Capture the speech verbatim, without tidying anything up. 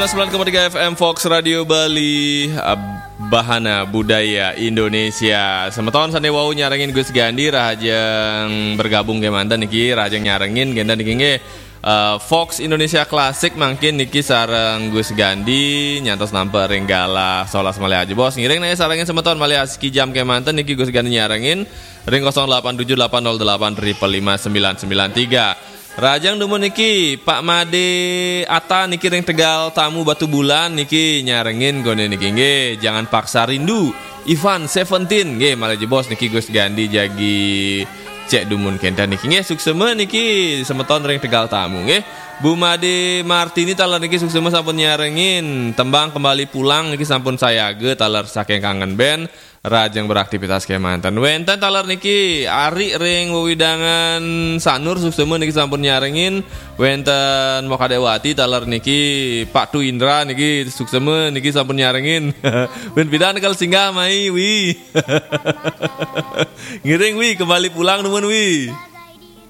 sembilan koma tiga F M Fox Radio Bali, eh, Bahana Budaya Indonesia. Semeton sane wau nyarengin Gus Gandi, rahajeng bergabung kemanten niki, rahajeng nyarengin kenten niki nggih. Eh, Fox Indonesia Classic mangkin niki sareng Gus Gandi nyantos nampi ring galah solas malih ajebos. Ngiring niki sarengin semeton malih asiki jam kemanten niki Gus Gandi nyarengin ring kosong delapan tujuh delapan nol delapan triple lima sembilan sembilan tiga. Rahajeng dumun niki Pak Made Ata niki ring Tegal Tamu Batubulan niki nyarengin kone niki nggih, Jangan Paksa Rindu, Ivan Seventeen nggih, malih ajebos niki Gus Gandi jagi cek dumun kenten niki nggih, suksema niki semeton ring Tegal Tamu nggih. Bu Made Martini taler niki suksema sampun nyarengin, Tembang Kembali Pulang niki sampun sayaga taler saking Kangen Band. Rahajeng beraktivitas kemanten. Wenten taler niki Ari ring wewidangan Sanur suksema niki sampun nyarengin. Wenten Mokadewati taler niki Pak Tu Indra niki suksema niki sampun nyarengin. Wen pidan kal singgah mai wi. Ngiring wi, Kembali Pulang dumun wi.